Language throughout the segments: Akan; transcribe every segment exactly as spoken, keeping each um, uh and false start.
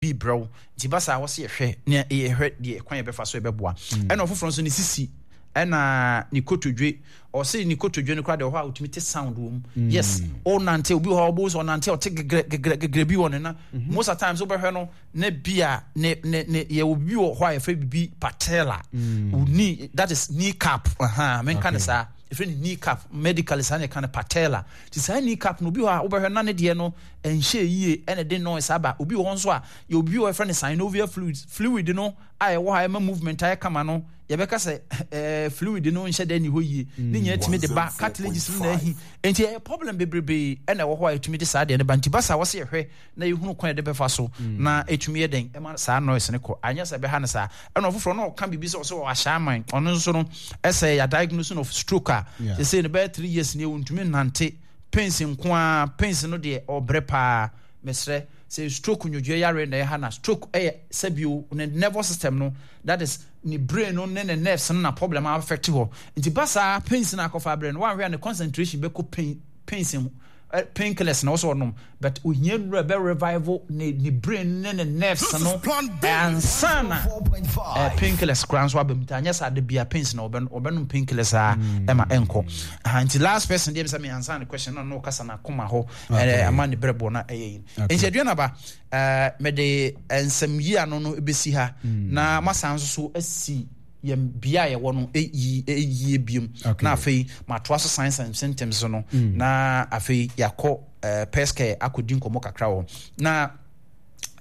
Bi brɛ wo nti ba saa, wɔsi yɛhwɛ ne yɛhwɛ deɛ kwan yɛbɛfa so yɛbɛboa. Ɛna ɔfoforɔ nso, ne sisi ɛna ne kotodwe. Ɔsɛ ne kotodwe no koraa deɛ, ɔhɔ a otumi te sound wɔ mu. Yes, ɔnante, obi wɔ hɔ a ɔbɔ sɛ ɔnante a, ɔte gegrɛ gegrɛ gegrɛ bi wɔ ne na. Most of times wobɛhwɛ no ne bi a ne ne ne yɛwɔ bi wɔ hɔ a yɛfrɛ bibi patella, knee, that is knee cap. Ɛhan menka ne saa, yɛfrɛ ne knee cap medically, saa na yɛka no patella. Ti saa knee cap no, obi wɔ hɔ a wobɛhwɛ na ne deɛ no ɛnhyɛ yie, ɛna de noise aba. Obi wɔ hɔ nso a yɛ obi wɔ yɛfrɛ no synovial fluid fluid no a ɛwɔ ha ɛma movement ayɛ kama no, yɛbɛka sɛ ɛɛ fluid no nhyɛ dɛ ni hɔ yie, ne nyinaa tumi de ba. Cartilages no na ahi, nti ɛyɛ problem bebrebe ɛna ɛwɔ hɔ a ɛtumi de saa deɛ no ba. Nti ba saa, wɔsɛ yɛhwɛ na yɛhunu kwan yɛde bɛfa so na ɛtumi yɛ dɛn ɛma saa noise no kɔ, anyɛ sɛ ɛbɛha no saa. Ɛna ɔfoforɔ na ɔka biribi sɛ ɔsɛ ɔwɔ ahyɛ aman, ɔno nso no ɛsɛ yɛ diagnose of stroke a sɛ no bɛyɛ three years ni, ɔntumi nante, pains nko ara, pains no deɛ ɔbrɛ paa. Mesrɛ, sɛ stroke nwodwoɛ yare na ɛha na stroke ɛyɛ sɛbio ne nervous system no, that is ne brain no ne ne nerves no na problem affect hɔ. Nti ba saa, pains na akɔfa abrɛ no, wanhwɛ a ne concentration bɛkɔ pain pains ho, painkillers na ɔsɔ ɔnom, but ohia nnura bɛ revive ne ne brain ne ne nerves no ansa na painkillers koraa nso aba mu. Nti anyɛ saa de bia pains na ɔbɛ ɔbɛnom painkillers a ɛma ɛnkɔ. Nti last person deɛ, sɛ me ansa ne question na ɔno ɔkasa na akoma hɔ ɛɛ ama ne brɛ bɔ na ɛyɛ yi. Nti aduane aba, ɛɛ mɛde nsɛm yi ano no ebesi ha na masan nso so asi yɛn bea a yɛwɔ no yie yie biem, na afei matoa so signs and symptoms no, na afei yɛakɔ ɛɛ pɛskɛ akɔdi nkɔmɔ kakra wɔ na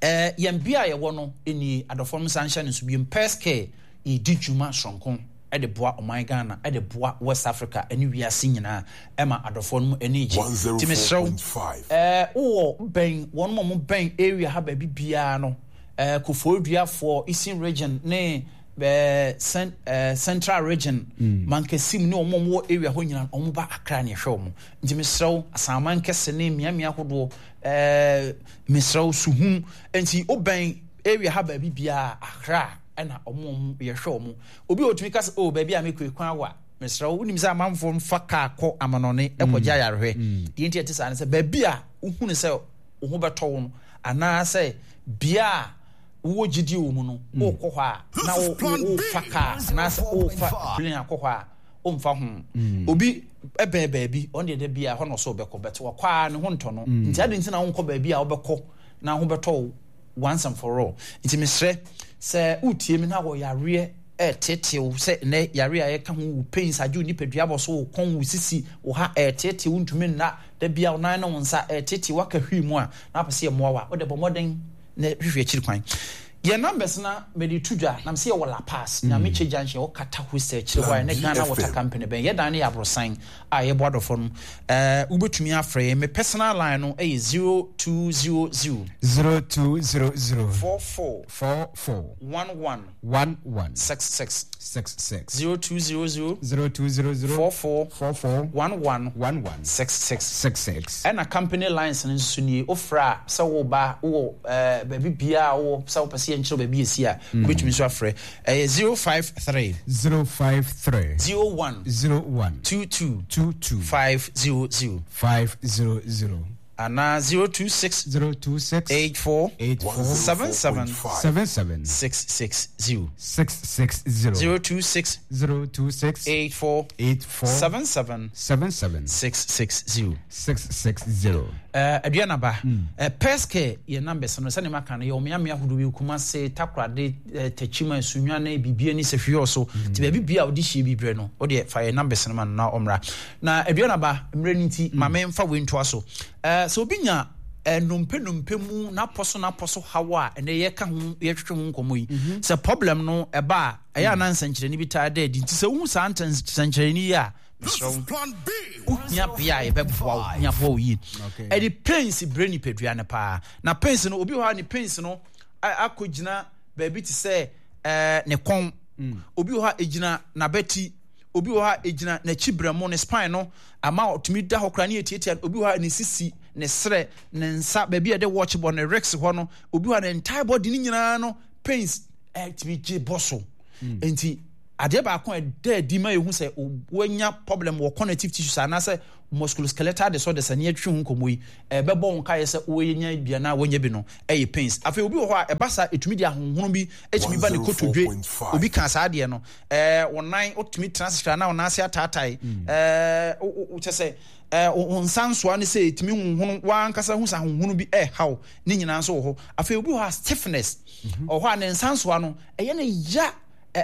ɛɛ yɛn bea a yɛwɔ no nie. Adɔfoɔ no nsa nhyɛ no nso biem, pɛskɛ yɛdi dwuma soronko ɛde boa ɔman Ghana, ɛde boa West Africa ɛne wiase nyinaa, ɛma adɔfoɔ no ani gye. Nti mesrɛw, ɛɛ wowɔ bɛn wɔn mo bɛn area ha baabi biara no, ɛɛ Kofoɔduafoɔ, Eastern Region ne ɛɛ cent ɛɛ Central Region, mm. Mankasim ne wɔn a wɔwɔ area hɔ nyinaa, wɔn ba Accra ne ɛhwɛ wɔn. Nti mesrɛw, Asanman kɛse ne mmeammea ahodoɔ, ɛɛ mesrɛw, Suhum, nti wobɛn area ha baabi biara, Accra ɛna wɔn yɛhwɛ wɔn. Obi a otumi kasa o, baabi a mekɔ ekwan awa, mesrɛ wo, wonim sɛ amanfoɔ mfa kaa kɔ amanɔne ɛkɔgye ayarehwɛ. Deɛ nti ɛte saa ne sɛ baabi a wohunu sɛ wo ho bɛtɔ wo no, anaasɛ bea a wowɔ gyidie wɔ mu no, wokɔ hɔ a na wofa kaa anaasɛ wofa plane akɔ hɔ a, womfa ho. Obi ɛbɛn baabi, ɔno deɛ da bi a hɔ na ɔsɛ ɔbɛkɔ, bɛte wakɔ a ne ho ntɔ no. Nti adi nti na wonkɔ baabi a wobɛkɔ na ho bɛtɔ wo once and for all? Nti mesrɛ sɛ wotie mi na wɔ yareɛ ɛɛteetew sɛ nnɛ yare a yɛka ho wo pains agye wo nipadua bɔ so, wo kɔn, wo sisi, wo ha ɛɛteetew, wo ntumi nna da bia, wo nan ne wo nsa ɛɛteetew, waka hwii mu a na apɛ sɛ yɛmmoa wo a, wode bɔ mmɔden na hwehwɛ akyiri kwan. Yɛn numbers na mede to dwa nam sɛ yɛwɔ La Paz, Nyamekyɛ Junction, yɛwɔ Kata Hostel akyire hɔ a ɛne Ghana Water Company bɛn. Yɛdan no yɛ aborosan a yɛbɔ adɔfoɔ no. ɛɛ wobɛtumi afrɛ yɛn. Me personal line no ɛyɛ zero two zero zero zero two zero zero four four four four one one one one six six. six six. zero two zero zero zero two zero zero four four four four one one one one six six. six six. Ɛna company lines no nso nie. Wofrɛ a, sɛ woba wowɔ ɛɛ baabi biara a wowɔ, sɛ wopɛ sɛ yɛnkyerɛ baabi yɛsi a, wobɛtumi nso afrɛ. Ɛyɛ zero five three zero five three zero one zero one two two two two five zero zero five zero zero anaa zero two six zero two six eight four eight four seven seven seven seven six six zero. six six zero. zero two six zero two six eight four eight four seven seven seven seven six six zero. six six zero. Uh, aduanaba, uh, pɛskɛ yɛ numbers no, sɛne maka no, yɛwɔ mmeammea ahodoɔ bi: Kumase, Takorade, uh, Takyima, Sunyane, biribia ne sɛhwiɔ so. Nti baabi bia a wode hyie bi berɛ no, wodeɛ fa yɛ numbers no ma no na ɔmmra. Na aduanaba, mmerɛ no nti ma memfa wei ntoa so. uh, sɛ obi nya uh, nnompe nnompe mu n'apɔ so n'apɔ so haw a ɛnɛ yɛka ho, yɛtwetwe ho nkɔmmɔ yi, sɛ problem no ɛba a, ɛyɛ ana nsɛnkyerɛnne bi taa da adi. Nti sɛ wohu saa nsɛnkyerɛnne yi a, mesrɛ wo, wohia bea a yɛbɛboa wo, hia boa wo yie. Ɛde pains brɛ nipadua no paa. Na pains no, obi wɔ hɔ a ne pains no akɔgyina baabi te sɛ ɛɛ ne kɔn, obi wɔ hɔ a ɛgyina n'abati, obi wɔ hɔ a ɛgyina n'akyi brɛmo, ne spine no, ama ɔtumi da hɔ koraa ne yɛtiatia. Obi wɔ hɔ a ne sisi, ne serɛ, ne nsa baabi a yɛde watch bɔ, ne wrist hɔ no. Obi wɔ hɔ a ne entire body ne nyinaa no pains ɛtumi gye bɔ so. Nti Adeɛ baako a ɛda adi ma yɛhu sɛ woanya problem wɔ connective tissues anaasɛ musculoskeletal disorders a ne yɛtwe ho nkɔmmɔ yi, ɛbɛbɔ wo nkaeɛ sɛ woanya bi anaa woanya bi no, ɛyɛ pains. Afei obi wɔ hɔ a ɛba saa, ɛtumi de ahonhono bi ɛtumi ba ne kotodwe. Obi ka saa adeɛ no, ɛɛ wo nan wotumi tena ase hwɛ anaa wo nan ase ataatae, ɛɛ wo kyɛ sɛ ɛɛ wo nsa nsoa ne sɛ ɛtumi honhono, w'ankasa hu sɛ ahonhono bi ɛrehaw, ne nyinaa nso wɔ hɔ. Afei obi wɔ hɔ a stiffness, ɔwɔ hɔ a ne nsa nsoa no ɛyɛ ne ya.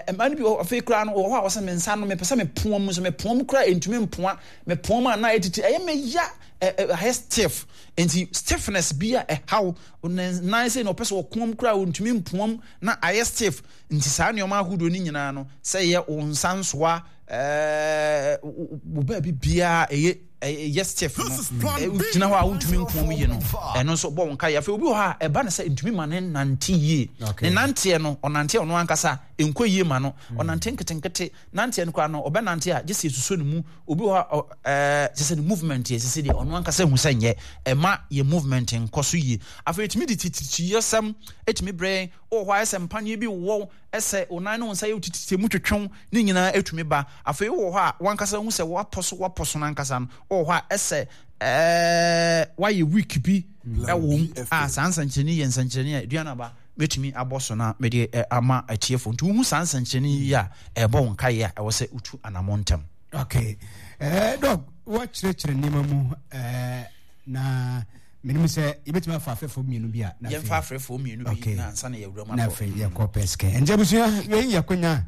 Mmaa no bi wɔ afei koraa no wɔ hɔ a wɔsɛ me nsa no mepɛ sɛ mepoa mu, so mepoa mu koraa ɛntumi mpoa, mepoa mu a na ɛtiti ɛyɛ me ya, ɛyɛ stiff. Nti stiffness bi a ɛhaw ne nan sɛ na ɔpɛ sɛ ɔkoa mu koraa ɔntumi mpoa mu na ayɛ stiff. Nti saa nneɛma ahodoɔ no nyinaa no, sɛ ɛyɛ wo nsa nsoa, ɛɛ wo baabi biara ɛyɛ ɛyɛ stiff no, wogyina hɔ a wontumi nkoa mu yie no, ɛno nso bɔ wo nkaeɛ. Afei obi wɔ hɔ a ɛba no sɛ ntumi ma ne nante yie, ne nanteɛ no ɔnante ɔno ankasa nkɔ yie ma no, ɔnante nketenkete, nanteɛ no koraa no ɔbɛnante a gye sɛ yɛsusɔ ne mu. Obi wɔ hɔ a ɛɛ kyɛ sɛ ne movement yɛ sisi deɛ ɔno ankasa hu sɛ nyɛ, ɛma yɛ movement nkɔ so yie. Afei ɛtumi de tititiyɛsɛm ɛtumi brɛ yɛn. Wɔ hɔ a ɛsɛ mpaneɛ bi wɔ ɛsɛ wo nan ne wo nsa yɛ tititi mu twetwew, ne nyinaa ɛtumi ba. Afei wɔ hɔ a wankasa hu sɛ wapɔ so wapɔ so n'ankasa no, wɔ hɔ a ɛsɛ ɛɛ wayɛ weak bi ɛwɔ mu a, saa nsɛnkyerɛnne yɛ nsɛnkyerɛnne a aduane aba mɛtumi abɔ so na mede ama atiefo. Nti wohu saa nsɛnkyerɛnne yi a, ɛbɔ wo nkaeɛ a ɛwɔ sɛ wotu anammɔ ntɛm. Okay, eh, Doc, woakyerɛkyerɛ nneɛma mu, eh, na menim sɛ yɛbɛtumi afa afɛfoɔ mmienu bi a yɛmfa afrɛfoɔ mmienu bi Okay. na ansa na yɛwura mu na akɔ. Afei yɛkɔ pɛskɛ. Nti abusua, wei yɛ akonya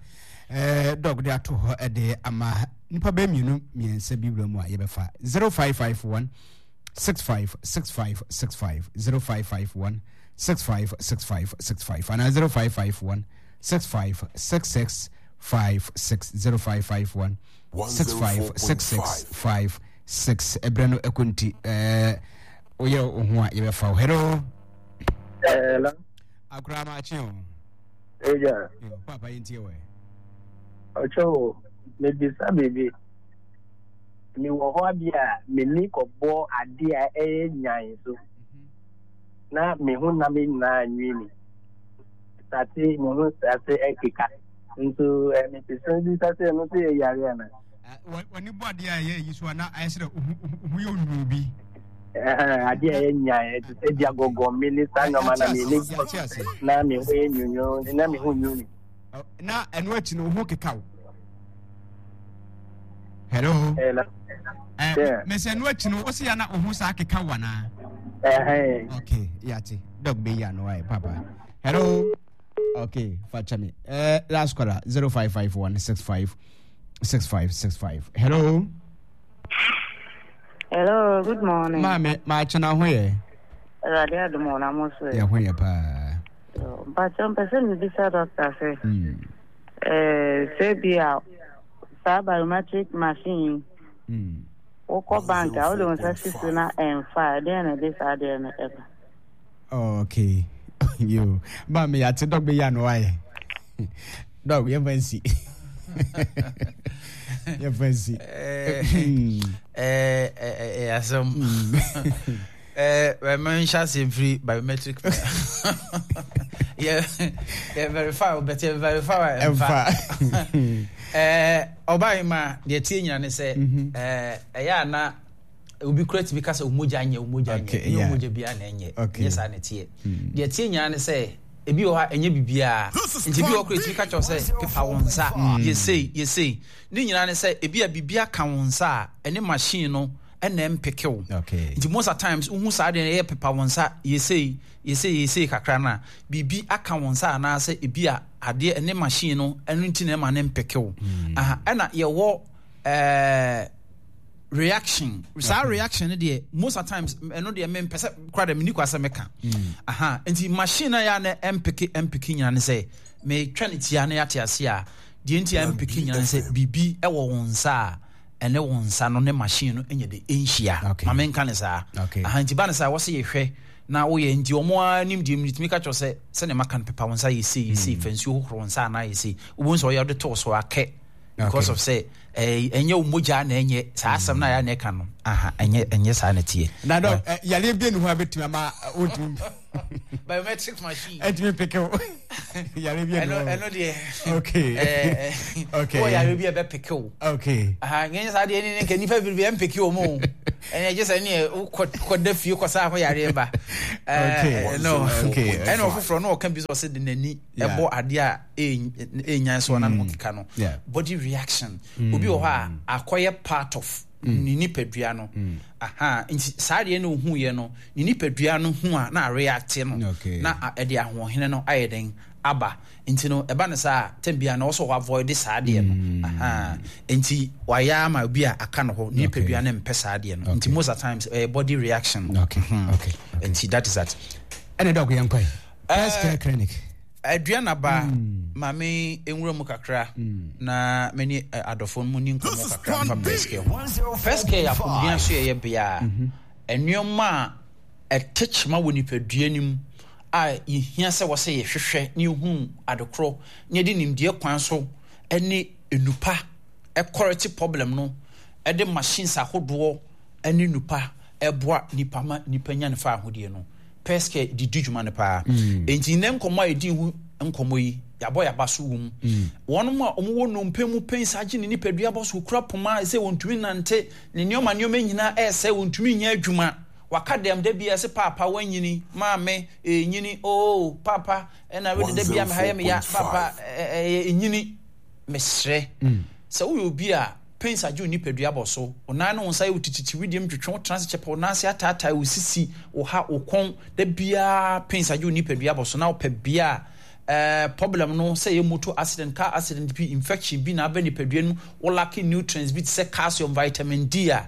eh, Doc de ato hɔ de ama nipa bɛɛ mmienu mmiɛnsa bi wura mu a yɛbɛfa zero five five one six five six five six five, zero five five one six five six five six five anaa zero five five one six five six six five six, zero five five one six five six six five six. Ɛberɛ no ɛkɔ nti ɛɛ woyɛ wo ho a yɛbɛfa wo. Hello. Hello. Akora, maakye o. Eja. Yo, papa, yɛntie wɔ. Ɔkyɛw, mebisa biribi. Mewɔ hɔ bi a m'ani kɔbɔ ade a ɛyɛ nyan so na me ho nam nyinaa nwi me sate, me ho sate ɛkeka nso mepɛ sɛ bisa sɛ ɛno nso yɛ yare ana? W'ani bɔ adeɛ a ɛyɛ yi so a na ayɛ sɛ wo yɛ onwunu bi. Adeɛ a ɛyɛ nyan ɛte sɛ gya gɔgɔ me ne saa nneɛma na m'ani bɔ na me ho yɛ nwunwu na me ho nwi me. Na ɛno akyi no wo ho keka wo. Hello? Hello. Eh, mesɛ ɛno akyi no wo se ya na wo ho saa keka wo anaa? Okay, yate. Doc bɛyi ano ayɛ papa. Hello. Okay, fakyɛ me. Eh, last caller, zero five five one six five six five six five. Hello. Hello, good morning. Maame, maakyɛ, na ho yɛ? Awurade adom wɔ na mo so yɛ? Ho yɛ paa. Mpakyɛ, mpɛ sɛ mebisa doctor sɛ Mm. eh, sɛ bi a saa biometric machine yi Mm. wokɔ bank a wode wo nsa si so na ɛmfa a, ɛdeɛn na ɛde saa adeɛ no ɛba? Oh, okay. Yo, maame, yate. Doc bɛyi ano ayɛ. Doc, yɛmfa nsi. Yɛmfa nsi. Eh, eh, eh, asɛm menhyɛ aseɛ mfiri biometric yɛ yɛ verify wo, but yɛ verify a ɛmfa. Ɛmfa. Ɔbaa yi ma deɛ tie nyina ne sɛ eh, ɛyɛ a na obi kura tumi ka sɛ omogya nyɛ, omogya nyɛ. Okay, ɛnyɛ yeah. omogya biara na ɛnyɛ. Okay. Nyɛ saa na ɛteɛ. Deɛ tie nyinaa ne sɛ ebi wɔ hɔ a ɛnyɛ biribiara, nti ebi wɔ hɔ kora etumi ka kyerɛw sɛ pepa wo nsa, yɛsei yɛsei. Ne nyinaa ne sɛ ebi a biribi aka wo nsa a ɛne machine no ɛna ɛmpeke wo. Okay. Nti most of times wohu saa deɛ no, ɛyɛ pepa wo nsa, yɛsei yɛsei yɛsei kakra no a biribi aka wo nsa anaasɛ ebi a adeɛ ɛne machine no ɛno nti na ɛma ne mpeke wo. Aha, ɛna yɛwɔ ɛɛ reaction, saa reaction no deɛ most of times ɛno deɛ mempɛ sɛ kora deɛ menni kwa sɛ meka. Aha, nti machine no a yɛ a na ɛmpeke ɛmpeke nyina ne sɛ metwa ne tia na yɛate ase a, deɛ nti a ɛmpeke nyina ne sɛ biribi ɛwɔ wo nsa a ɛne wo nsa no ne machine no ɛnyɛ de ɛnhyia. Okay. Ma menka ne saa. Okay. Aha, nti ba ne saa wɔ sɛ yɛhwɛ na woyɛ nti ɔmo ara nim deɛ metumi ka kyerɛ sɛ sɛnea maka no, pepa wo nsa, yɛsei yɛsei, fa nsuo hohoro wo nsa anaa yɛsei, wobɛhu sɛ ɔyɛ wode too so akɛ because Okay. of sɛ ɛɛ ɛnyɛ wo mogya na ɛnyɛ saa asɛm no a yɛ a na ɛka no. Aha, ɛnyɛ ɛnyɛ saa na ɛteɛ. Na Doc, eh, yareɛ bi ni hɔ a bɛtumi ama wontumi Biometric machine. Ɛntumi peke wo yare bi. Ɛno ɛno deɛ. Okay. Okay. Wɔ yare bi a ɛbɛ peke wo. Okay. Aha, nyɛ saa deɛ ne nka nipa bebree ɛmpeke wɔ mu o. Ɛnna ɛgye sɛ ne wokɔ kɔda fie kɔsa ho yareɛ ba. Okay. No. Okay. Ɛna ɔfoforɔ no ɔka bi sɛ ɔsɛ de n'ani ɛbɔ adeɛ a ɛnyan so ɔna no keka no. Body reaction. Obi wɔ hɔ a akɔyɛ part of ne nipadua no. Aha, nti saa deɛ na ohu yɛ no, ne nipadua no hu a na areact no. Na ɛde ahoɔhene no ayɛ den aba. Nti no ɛba no saa tem bia na ɔsɔ avoid saa deɛ no. Aha, nti wayɛ ama obi a aka no hɔ ne nipadua no mpɛ saa deɛ no. Nti most of times eh, body reaction. Okay. Okay. Nti that is that. Ɛna dɔk yɛn kɔɛ. First Care Clinic. Aduana ba maame nwura mu kakra na mene adɔfo no mu ni nkɔmmɔ kakra mfa First Care ho. First Care yɛ apɔmuden so yɛyɛ bea a nneɛma a ɛte kyema wɔ nipadua no mu a yɛhia sɛ wɔsɛ yɛhwehwɛ ne yɛhu adekorɔ ne yɛde nimdeɛ kwan so ne nnupa ɛkɔrɛte problem no, ɛde machines ahodoɔ ne nnupa ɛboa nipa ma nipa nya ne fa ahodie no. First Care di di dwuma no paa. Enti nnɛ nkɔmmɔ a yɛdi ho nkɔmmɔ yi, yɛabɔ yɛaba so wɔ mu. Wɔn a wɔwɔ nnompe mu pains agye ne nipadua bɔ so, okura poma sɛ wɔntumi nante, ne nneɛma nneɛma nyinaa ɛresɛe, wɔntumi nyɛ adwuma. Waka dɛm da bi a sɛ paapa wanyini, maame ɛnyini, oo paapa ɛna wede da bi a meha yɛ meya, paapa ɛyɛ ɛnyini. Mesrɛ sɛ woyɛ obi a pains agye wo nipadua bɔ so, wo nan ne wo nsa yɛ wo tititi, widiem twetwe wo tena ase kyɛpɛ, wo nan ase ataatae, wo sisi, wo ha, wo kɔn, da biara pains agye wo nipadua bɔ so na wopɛ bea a eh, problem no sɛ yɛ motor accident, car accident bi, infection bi na aba nipadua no mu, wo lack nutrients bi te sɛ calcium, vitamin D a,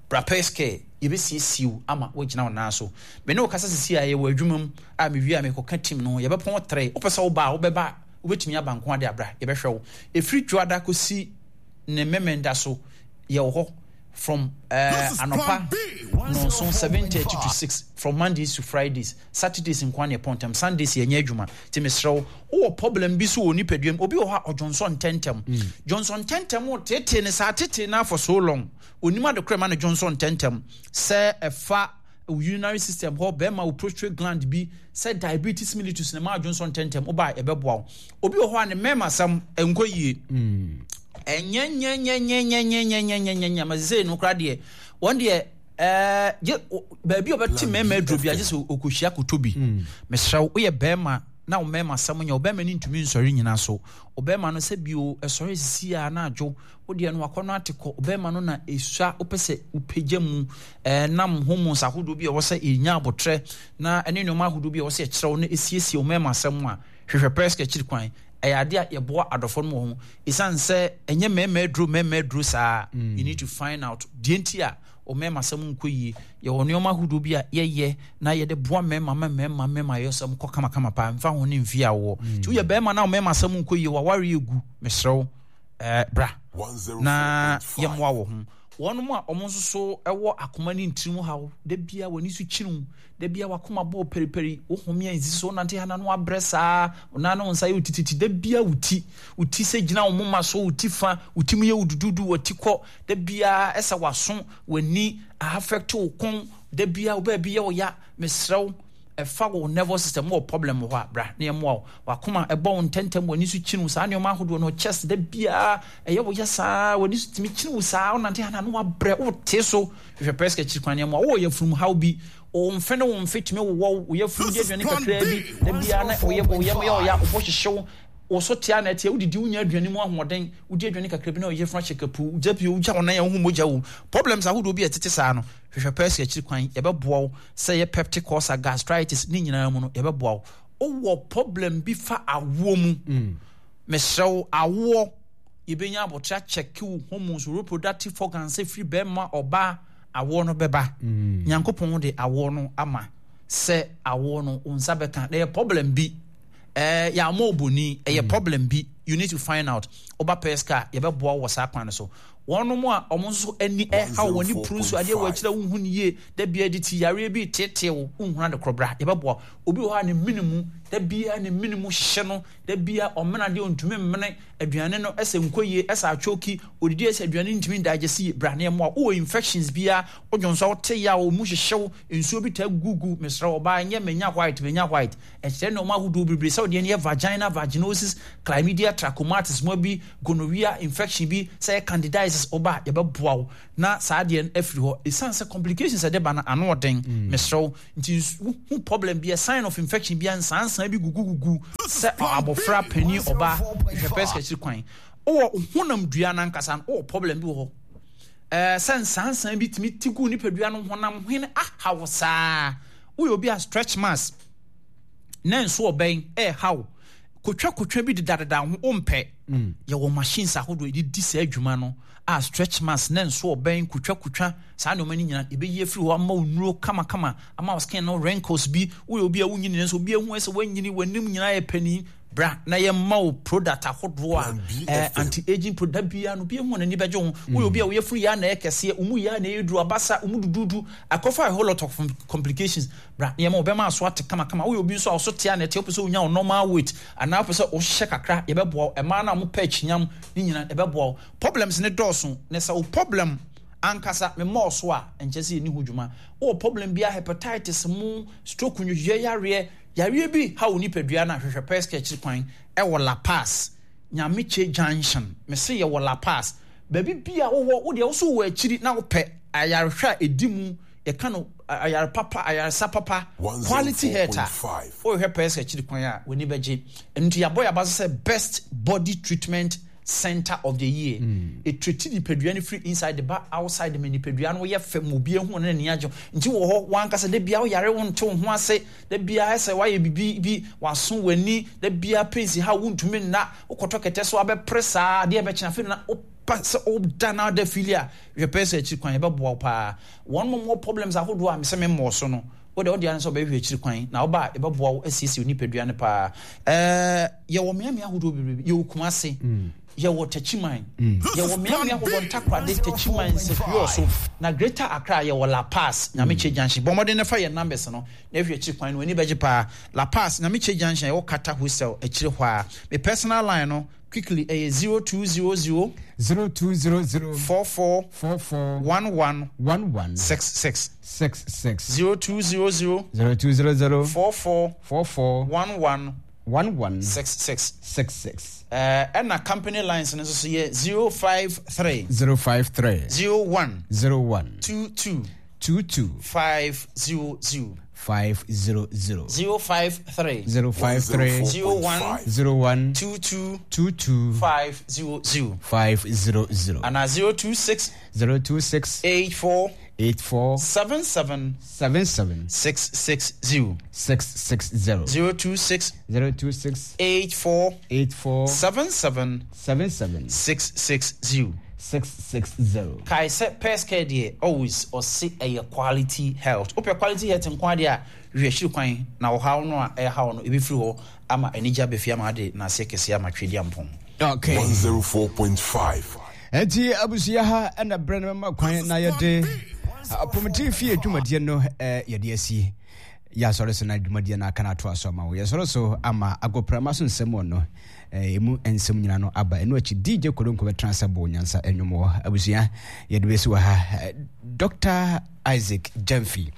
bra First Care, yɛbɛsiesie wo ama woagyina wo nan so. Me ne wo kasa sisi a yɛwɔ adwuma mu a mewie a mekɔka team no ho, yɛbɛpɔn tere. Wopɛ sɛ woba a, wobɛba, wobɛtumi aba nko ade abra, yɛbɛhwɛ wo. Ɛfiri Dwoada kɔsi ne memenda so yɛwɔ hɔ from uh, anɔpa nonson seven thirty to six, from Mondays to Fridays. Saturdays nko na yɛpɔn ntɛm, Sundays yɛnyɛ adwuma. Nti mesrɛ wo, wowɔ problem bi so wɔ nipadua mu, obi wɔ hɔ a ɔdwonsɔ ntɛntɛm, dwonsɔ ntɛntɛm o tete ne saa tete na for so long onim adekora ma no dwonsɔ ntɛntɛm, sɛ ɛfa urinary system hɔ, bɛrima wo prostate gland bi, sɛ diabetes mellitus na ma adwonsɔ ntɛntɛm, woba a ɛbɛboa wo. Obi wɔ hɔ a ne mmarima asɛm nkɔ yie, ɛnyɛ nyɛ nyɛ nyɛ nyɛ nyɛ nyɛ nyɛ nyɛ nyɛ nyɛ ma sɛ no kora deɛ wɔn deɛ ɛɛ gye baabi a ɔbɛte mmarima aduro bi agye sɛ ɔkɔhyia koto bi. Mesrɛ wo, woyɛ bɛrima na wo mmarima asɛm nyɛ, wo bɛrima no ntumi nsɔre nyina so, wo bɛrima no sɛ bio ɛsɔre sisi a na adwo wo deɛ no wakɔ no ate kɔ, wo bɛrima no na esua wopɛ sɛ wopagya mu ɛɛ nam hormones ahodoɔ bi a ɛwɔ sɛ ɛnya abotrɛ na ɛne nneɛma ahodoɔ bi a ɛwɔ sɛ ɛkyerɛw na esiesie wo mmarima asɛm a, hwehwɛ First Care akyiri kwan. Ɛyɛ adeɛ a yɛboa adɔfo no wɔ ho, ɛsiane sɛ ɛnyɛ mmarima aduro mmarima aduro saa. You need to find out deɛ nti a o mmarima asɛm nkɔ yie. Yɛwɔ nneɛma ahodoɔ bi a yɛyɛ na yɛde boa mmarima ma mmarima mmarima yɛ sɛm kɔ kamakama paa mfa ho ne mfie a wowɔ. Nti woyɛ barima na wo mmarima asɛm nkɔ yie, waware egu, mesrɛ wo, ɛɛ bra na yɛmmoa wɔ ho. Wɔn a wɔn nso so wɔ akoma ne ntirim haw, da bia wɔn ani so kyiniw, da bia wakoma bɔ periperi, wo home a nsi so, nante ha na no abrɛ saa, wo nan ne wo nsa yɛ wo tititi, da bia wo ti, wo ti sɛ gyina wo moma so, wo ti fa, wo ti mu yɛ wo dududu, wo ti kɔ, da bia ɛsɛ w'aso, w'ani, affect wo kɔn, da bia wo baabi yɛ wo ya, mesrɛ wo, ɛfa wo nervous system wɔ problem wɔ hɔ a, bra na yɛmmoa wo. Wakoma ɛbɔ wo ntɛntɛm, w'ani so kyini wo, saa nneɛma ahodoɔ no, chest da biara ɛyɛ wo yɛ saa, w'ani so tumi kyini wo saa, wonante ha na no wabrɛ, wote so, hwehwɛ First Care akyiri kwan na yɛmmoa wo. Wowɔ yafunu haw bi, wo mfe ne wo mfe tumi wowɔ wo yafunu di aduane kakraa bi, da biara na wo yam yɛ ɔya, wo bo hyehye wo, wo so te a na ɛteɛ, wodidi wonya aduane mu ahoɔden, wodi aduane kakra bi na ɔyafunu ahyɛ kapuu, wogya bio, wogya wo nan a wohu mogya wɔ mu. Problems ahodoɔ bi a ɛtete saa no, hwehwɛ First Care akyiri kwan, yɛbɛboa wo. Sɛ yɛ peptic ulcer, gastritis, ne nyinaa mu no, yɛbɛboa wo. Wowɔ problem bi fa awoɔ mu, mesrɛ wo, awoɔ, yɛbɛnya abotire akyɛke wo hormones, reproductive organs, sɛ firi bɛrima ɔbaa, awoɔ no bɛba. Nyankopɔn de awoɔ no ama sɛ awoɔ no wo nsa bɛka. Na yɛ problem bi, ɛɛ yɛamɔ oboni, ɛyɛ problem bi, you need to find out. Woba First Care, yɛbɛboa wo wɔ saa kwan no so. Wɔnom a wɔn nso ani ɛhaw wɔn ani puru nso adeɛ wɔ akyire a wonhu no yie, da biara de ti yareɛ bi reteetee wo, wonhunu ade korɔ, bra yɛbɛboa wo. Obi wɔ hɔ a ne mene mu Da biara ne mene mu hyehye no, da biara ɔmena deɛ ɔntumi mmene aduane no, ɛsɛ nkɔ yie, ɛsɛ atwoki, odidi ɛsɛ aduane ntumi ndigest yie, bra ne ɛmoa. Wowɔ infections biara, wodwo nso wote yaw, wo mu hyehyew, nsuo bi taa gugu, mesrɛ ɔbaa, nyɛ menya white, menya white. Ɛkyerɛ nneɛma ahodoɔ bebree sɛ wodeɛ no yɛ vagina, vaginosis, chlamydia, trachomatis, mo bi, gonorrhea, infection bi, sɛ yɛ candidiasis, ɔba yɛbɛboa wo na saa adeɛ no afiri hɔ. Ɛsiane sɛ complications ɛde ba no ano ɔden, mesrɛ wo, nti wohu problem bi, a sign of infection bi, nsansan bi gugugugu sɛ abɔfra, panin, ɔbaa, hwɛ pɛ sɛ akyiri kwan. Wowɔ honam dua no ankasa no, wowɔ problem bi wɔ hɔ. Ɛɛ sɛ nsansan bi tumi ti gu nipadua no honam hwene ahaw saa. Woyɛ obi a stretch marks na nso ɔbɛn ɛɛhaw, kotwa kotwa bi dedadeda ho wompɛ. Yɛwɔ machines ahodoɔ yɛde di saa adwuma no a stretch marks na nso ɔbɛn kotwa kotwa saa nneɛma no nyinaa yɛbɛyi afiri hɔ ama wo nnuro kamakama ama wo skin no wrinkles bi. Woyɛ obi a wonyini nso obi ehu sɛ wanyini, w'anim nyinaa yɛ panin, bra na yɛma wo product ahodoɔ a eh, anti-aging product biara no obi ehu n'ani bɛgye ho. Woyɛ obi a woyɛ funu yɛ ana ɛkɛseɛ, wo mu yɛ ana ɛyɛ duru, abasa wo mu dududu akɔfa a whole lot of complications, bra na yɛma wo bɛma aso ate kamakama. Woyɛ obi nso a ɔso te a na ɛte, wopɛ sɛ wonya wo normal weight anaa wopɛ sɛ wohyɛ kakra, yɛbɛboa wo. Ɛmaa no a mopɛ akyinyam ne nyinaa, yɛbɛboa wo. Problems ne dɔɔso, na sɛ wo problem ankasa memmɔɔ so a, nkyɛ sɛ yɛni ho dwuma. Wowɔ problem biara, hepatitis mu, stroke, nwodwoeɛ yareɛ, yareɛ bi ha wo nipadua no a, hwehwɛ Pɛskɛ akyiri kwan ɛwɔ La Paz, Nyamekye Junction. Mese yɛwɔ La Paz. Baabi bi a wowɔ, wo deɛ wo so wɔ akyiri na wopɛ ayarehwɛ a ɛdi mu, yɛka no ayare papa, ayaresa papa, quality health a, wohwehwɛ Pɛskɛ akyiri kwan a, w'ani bɛgye. Ɛno nti yɛabɔ yɛaba so sɛ best body treatment center of the year. Ɛtreti nipadua no firi inside de ba outside ma nipadua no yɛ fɛ ma obi ehu ne n'ani agye. Nti wɔ hɔ wankasa da bia woyare, wo nte wo ho ase, da bia ɛsɛ wayɛ bibi bi waso w'ani, da bia pains ha wontumi nna, wokɔtɔ kɛtɛ so abɛpere saa adeɛ bɛkyena afei na wopa sɛ woda na woda fili a, hwɛ pɛ sɛ akyiri kwan, yɛbɛboa wo paa. Wɔn mo wɔ problems ahodoɔ a mesɛ memmɔɔ so no, wode wode ano sɛ wobɛhwɛ akyiri kwan na woba a, yɛbɛboa wo asiesie wo nipadua no paa. Ɛɛ yɛwɔ mmeammea ahodoɔ bebree. Yɛwɔ Kumase, yɛwɔ Takyiman, yɛwɔ mmeammea ahodoɔ, Ntakorade, Takyiman, Nsɛhwiɔ so na Greater Accra yɛwɔ La Paz, Nyamekye Junction. Bɔ mmɔden na fa yɛn numbers no na ɛhwɛ akyiri kwan no, w'ani bɛgye paa. La Paz, Nyamekye Junction, yɛwɔ Kata Hostel akyire hɔ a. Me personal line no quickly ɛyɛ zero two zero zero zero two zero zero four four four four one one one one six six six six zero two zero zero zero two zero zero four four four four one one one one six six. six six. Ɛɛ ɛna company lines no nso so yɛ zero five three zero five three zero one zero one two two two two five zero zero five zero zero zero five three zero five three zero one zero one two two two two five zero zero five zero zero ana zero two six zero two six eight four eight four seven seven seven seven six six zero six six zero zero two six zero two six eight four eight four seven seven seven seven six six zero. six six zero. Kae sɛ Pɛskɛ deɛ always ɔse ɛyɛ quality health. Wopɛ quality health nko adeɛ a, hwehwɛ akyiri kwan na ɔhaw no a ɛhaw no ɛbɛfiri hɔ ama anigye abɛfie ama ade n'aseɛ kɛseɛ ama twɛdi ampɔn. Okay. one oh four point five. Enti abusua ha ɛna berɛ no ma kwan na yɛde apɔmuden fie dwumadie no yɛde asi. Yɛasɔre so na dwumadie no aka no atoa so ama wo. Yɛsɔre so ama agoprama so nsɛm wɔ no emu nsɛm nyinaa no aba. Ɛno akyi D J Kodonko bɛtena sɛ bɔ nyansa nnwom wɔ abusua yɛde bɛsi wɔ ha. Doctor Isaac Gyamfi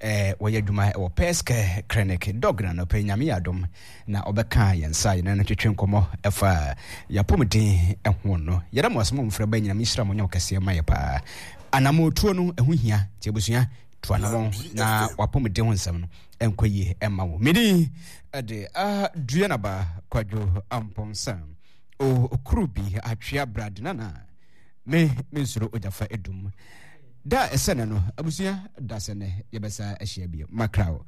wɔyɛ adwuma wɔ Pɛskɛ Clinic. Dog na nɔpɛ Nyame yɛ adom na ɔbɛka yɛn nsa yɛne no twetwe nkɔmmɔ ɛfa yɛapɔmuden ho no. Yɛda mo ase mo mfrɛ ba nyinam nhyira mo nyɛ kɛseɛ ma yɛ paa. Anammɔtuo no ɛho hia nti abusua to anammɔn na wapɔmuden ho nsɛm no ɛnkɔ yie ɛma wo. Medi ɛde Aduanaba Kwadwo Ampɔnsa okuru bi atwea bradenana me mensuro ogyafa edum da ɛsɛ ne no abusua da sɛ ne yɛbɛsa ahyia bio makraw.